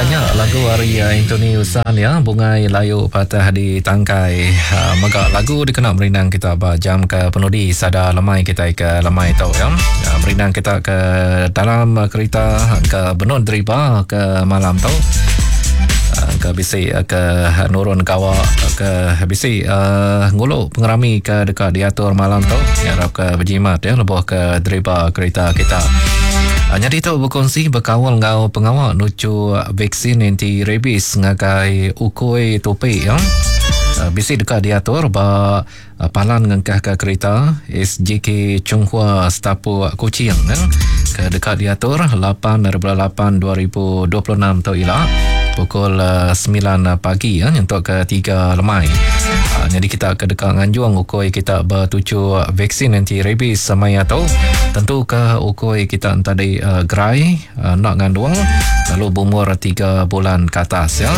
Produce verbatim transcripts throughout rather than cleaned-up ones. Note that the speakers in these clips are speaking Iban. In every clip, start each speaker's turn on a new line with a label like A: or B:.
A: Ya nya lagu ari uh, Anthony Usan ya, Bungai Layu Patah di Tangkai. Uh, mega lagu dikena merindang kita ba jam ke penudi sada lemai kita ke lemai tu ya. Uh, merindang kita ke dalam kereta ke benun deriba ke malam tu. Uh, ke bisi ke nurun gawa ke bisi uh, ngulu pengerami ke dekat diatur malam tu, harap ke berjimat ya lebuh ke deriba kereta kita. Uh, jadi tu berkongsi berkawal ngau pengawal nucu vaksin anti rabies ngagai ukui topi ya. Uh, bisi dekat diatur ba uh, palan ngengkah ke kereta S J K Chunghua Setapu Kuching ya. Ke dekat diatur lapan lapan dua ribu dua puluh enam tu ila pukul uh, sembilan pagi ya untuk ke tiga lemai. Uh, jadi kita ke dekat nganjung ukui kita bertuju vaksin anti rabies semaya tu. Tentu ke ukui kita tadi uh, gerai uh, nak ngandung lalu berumur tiga bulan ke atas ya.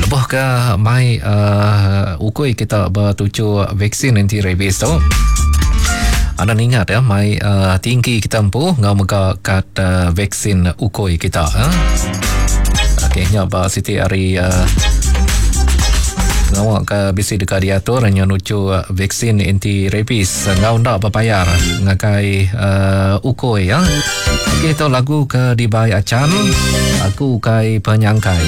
A: Lebuh ke mai uh, ukui kita bertuju vaksin anti rabies tu. Anda ingat ya mai uh, tinggi kita empu ngau mega kad uh, vaksin ukui kita ya. Okey, nya ba siti hari uh, ngawak ke bisi dekat diatur nya nucu uh, vaksin anti rabies ngau ndak berbayar ngakai uh, ukui ya. Okey, tu lagu ke dibai acan aku kai penyangkai.